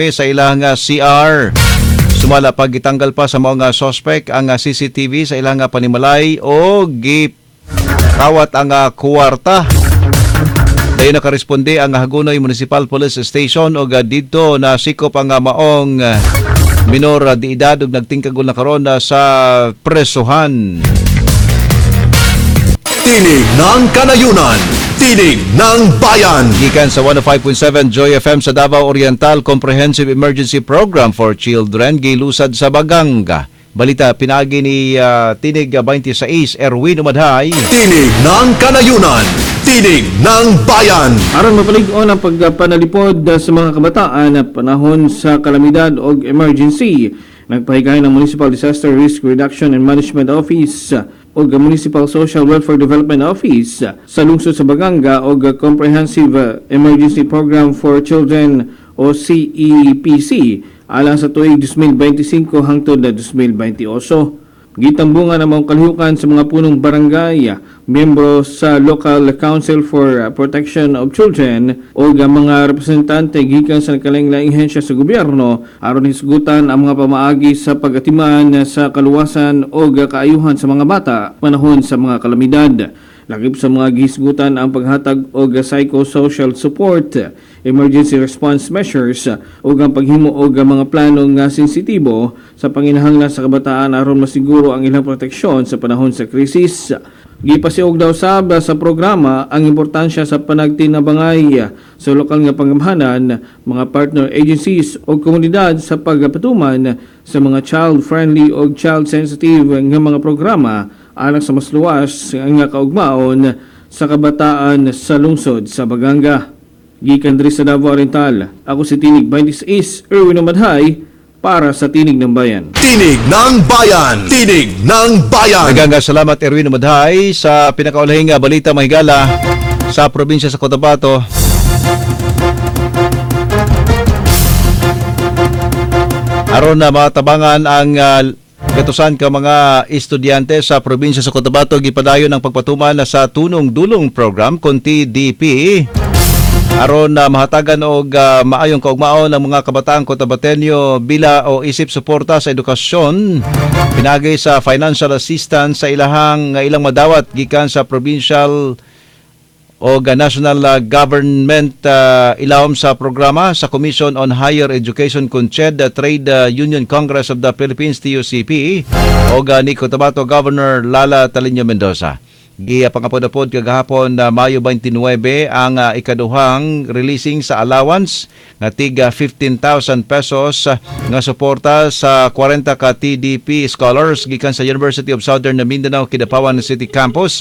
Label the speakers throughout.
Speaker 1: Sa ilang CR. Sumala pagitanggal pa sa mga suspect ang CCTV sa ilang panimalay o gikawat ang kuwarta. Dayon nakaresponde ang Hagonoy Municipal Police Station og didto na sikop ang maong minor di edad ug nagtingkagol na karon sa presuhan.
Speaker 2: Tinig ng Kanayunan. Tinig ng Bayan.
Speaker 1: Gikan sa 105.7 Joy FM sa Davao Oriental, Comprehensive Emergency Program for Children gilusad sa Baganga. Balita pinagi ni Tinig 26 Erwin Umadhay.
Speaker 2: Tinig ng Kanayunan. Tinig ng Bayan.
Speaker 3: Aron mapalig-on ang pagpanalipod sa mga kabataan na panahon sa kalamidad o emergency, nagpahigayon ang Municipal Disaster Risk Reduction and Management Office o Municipal Social Welfare Development Office sa lungsod sa Baganga og Comprehensive Emergency Program for Children o CEPC alang sa tuig 2025 hangtod na 2028. Gitambungan ang mga kalihukan sa mga punong barangay, miyembro sa Local Council for Protection of Children o ang mga representante gikan sa nagkalaing-laing ahensya sa gobyerno aron hisgutan ang mga pamaagi sa pag-atiman sa kaluwasan o kaayuhan sa mga bata panahon sa mga kalamidad. Lakip sa mga gihisgutan ang paghatag og psychosocial support, emergency response measures ug ang paghimo og mga plano nga sensitibo sa panginahanglan sa kabataan aron masiguro ang ilang proteksyon sa panahon sa krisis. Gipasiog daw sab sa programa ang importansya sa panagtinabangay sa lokal nga panggamhanan, mga partner agencies o komunidad sa pagpatuman sa mga child-friendly o child-sensitive nga mga programa alang sa mas luwas nga kaugmaon sa kabataan sa lungsod sa Baganga. Gikan diri sa Davao Oriental, ako si Tinig 26 Erwin Umadhay para sa Tinig ng Bayan.
Speaker 2: Tinig ng Bayan. Tinig ng Bayan.
Speaker 1: Daghang salamat, Erwin Umadhay, sa pinakaulahing balita, mahigala, sa probinsya sa Cotabato. Aron na matabangan ang gatusan ka mga estudyante sa probinsya sa Cotabato, gipadayon ang pagpatuman na sa Tunong Dulong Program kon TDP aron na mahatagan og maayong kaugmaon ang mga kabataang Cotabatenyo bila o isip suporta sa edukasyon pinagi sa financial assistance sa ilahang ilang madawat gikan sa provincial o national government ilawom sa programa sa Commission on Higher Education CONCHED, Trade Union Congress of the Philippines TUCP o ni Cotabato Governor Lala Taliño Mendoza. Gipangapod-apod kagahapon na Mayo 29 ang ikaduhang releasing sa allowance nga tig 15,000 pesos nga suporta sa 40 ka TDP scholars gikan sa University of Southern Mindanao Kidapawan City Campus.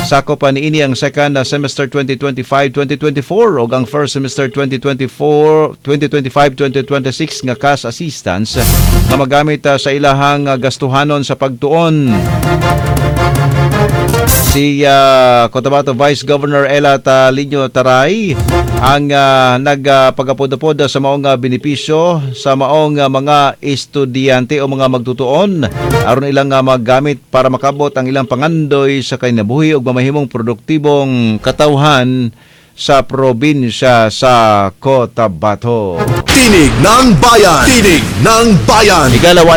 Speaker 1: Sako pa niini ang second semester 2025-2024 ug ang first semester 2024 2025-2026 nga cash assistance nga magamit sa ilahang gastuhanon sa pagtuon. Si Cotabato Vice Governor Ela Taliño Taray ang nagpagapod-apod sa maong benepisyo sa maong mga estudyante o mga magtutuon aron ilang magamit para makabot ang ilang pangandoy sa kinabuhi ug mamahimong produktibong katawhan sa probinsya sa Cotabato.
Speaker 2: Tinig ng Bayan. Tinig ng Bayan.
Speaker 1: Igalawa.